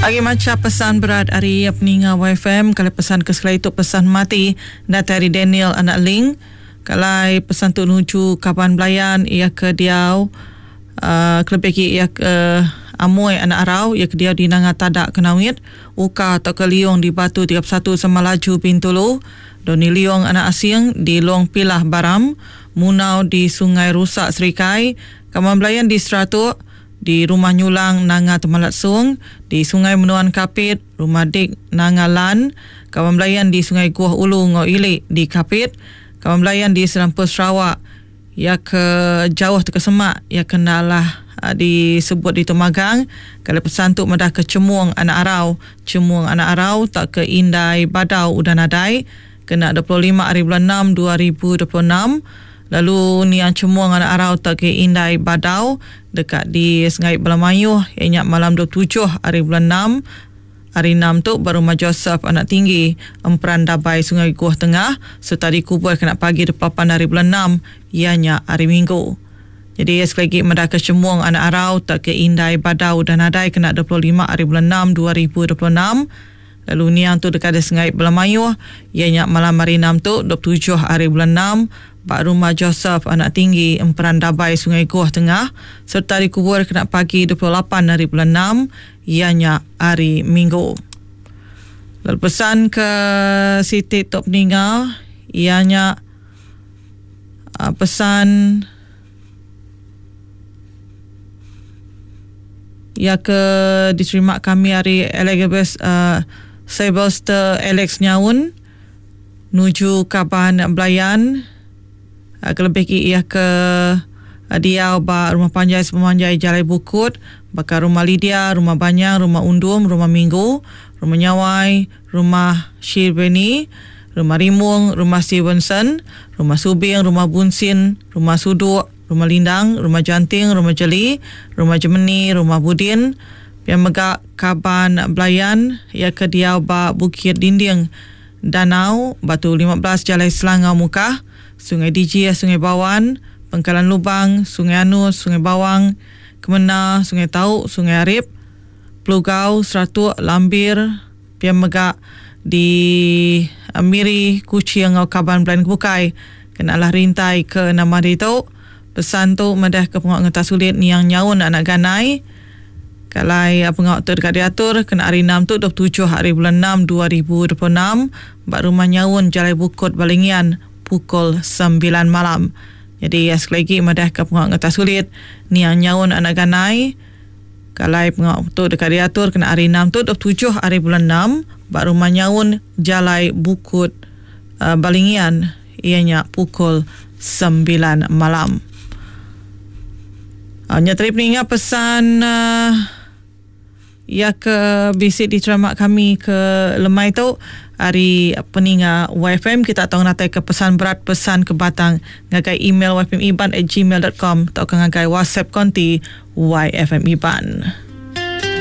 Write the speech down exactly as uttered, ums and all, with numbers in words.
Agi macha pesan berat ari peninga Y F M kala pesan ke sekali tu pesan mati datai ari Daniel anak Ling. Kalai pesan tu nuju kaban belayan ia ke diau uh, kelebih lagi ia ke Amoy anak Arau ia ke diau di Nanga Tadak Kenawit, Uka atau ke Liong di Batu tiga puluh satu sama Laju Bintulu, Doni Liong anak Asing di Long Pilah Baram, Munau di Sungai Rusak Serikai, kaban belayan di Seratuk, di Rumah Nyulang Nanga Temalat Sung, di Sungai Menuan Kapit, Rumah Dik Nanga Lan, kaban belayan di Sungai Guah Ulu Ngau Ilik di Kapit, kaban belayan di Serampur Sarawak, ya ke jauh ke semak, ya kenalah disebut di Tumagang. Kalau pesan tu madah ke Cemung anak Arau, Cemung anak Arau tak ke Indai Badau udah nadai, kena dua puluh lima hari bulan enam dua ribu dua puluh enam. Lalu niang Cemung anak Arau tak ke Indai Badau dekat di Sungai Belamayuh ianya malam dua puluh tujuh hari bulan enam. Hari enam tu baru Rumah Joseph anak tinggi Emperan Dabai Sungai Guah Tengah serta dikubur kena pagi dua puluh lapan hari bulan enam ianya hari Minggu. Jadi sekali lagi madah ke Cemung anak Arau tak ke Indai Badau dan nadai kena dua puluh lima hari bulan enam dua ribu dua puluh enam. Lalu niang tu dekat di Sungai Belamayuh ianya malam hari enam tu dua puluh tujuh hari bulan enam bak Rumah Joseph anak tinggi Emperan Dabai Sungai Goh Tengah serta dikubur kena pagi dua puluh lapan hari bulan enam ianya hari Minggu. Lalu pesan ke Siti Tok Peninga ianya pesan ia ke diterima kami hari Elizabeth uh, Sylvester Alex Nyaun nuju kaban belayan uh, kelebih ki ia ke uh, diau ba rumah panjai sepemanjai Jalai Bukut bakal rumah Lydia, rumah Banyang, rumah Undum, rumah Minggu, rumah Nyawai, rumah Shirbeni, rumah Rimung, rumah Stevenson, rumah Subing, rumah Bunsin, rumah Suduk, rumah Lindang, rumah Janting, rumah Jeli, rumah Jemeni, rumah Budin, yang megak kaban belayan ia ke diau ba Bukit Dinding Danau, Batu lima belas Jalai Selangau Mukah, Sungai Diji, Sungai Bawan, Pengkalan Lubang, Sungai Anus, Sungai Bawang, Kemena, Sungai Tau, Sungai Arip, Pelugau, Seratuk, Lambir, yang megak di Miri, Kuching ngau kaban belayan kebukai. Kenalah rintai ke nama dia tu. Pesan tu madah ke pengok ngetas sulit niang nyaun anak ganai. Kalai pengok tu dekat diatur kena hari enam tu dua puluh tujuh hari bulan enam dua ribu dua puluh enam bak rumah nyaun Jalai Bukut Balingian pukul sembilan malam. Jadi sekali lagi madah ke pengok ngetas sulit niang nyaun anak ganai. Kalai pengok tu dekat diatur kena hari enam tu dua puluh tujuh hari bulan enam bak rumah nyaun Jalai Bukut uh, Balingian ianya pukul sembilan malam. Uh, nyatari peningat pesan uh, ya ke bisik diterima kami ke lemai tu hari peningat Y F M kita tahu natai ke pesan berat pesan ke batang ngagai email y f m iban at gmail dot com atau ke ngagai WhatsApp konti Y F M Iban.